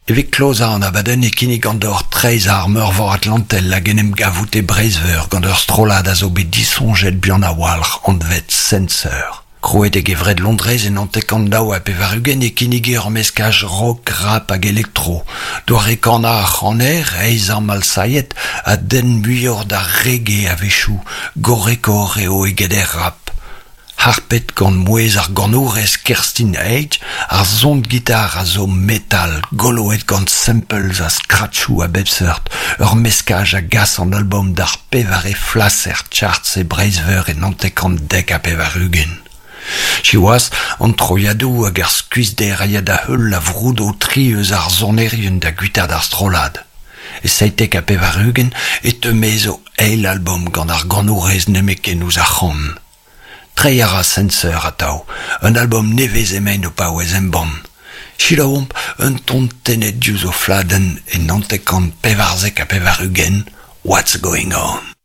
Evit klozañ an abadenn e kinnigan deoc'h treizhañ ar Meurvor Atlantel hag en em gavout e Breizh-Veur gant ur strollad a zo bet disoñjet buan a-walc'h anvet Sensor. Krouet e gevred Londrez e 99 e kinnige ur meskaj rock, rap hag elektro. Doare kanañ ar c'haner, Aezam Al-Sayed, a denn muioc'h d'ar reggae a-wechoù, gorrekoc'h eo eget er rap. Harpet gant mouezh ar ganourez Kerstin Age, ar son gitar a zo metal, goloet gant samples ha scratchoù a bep seurt, ur meskaj a gas an albom d'ar pevare flas er charts e Breizh-Veur e 1990. Siwazh, an troiadoù hag ar skuizhder a ya da heul a vroudo tri eus ar sonerien da guitaat ar strollad. E 97 e teu maez o eil albom gant ar ganourez nemetken ouzh ar c'han. Treiñ a ra Sensor atav, un albom nevez emaint o paouez embann. Selaouomp un ton tennet diouzh o fladenn e 994 What's Going On.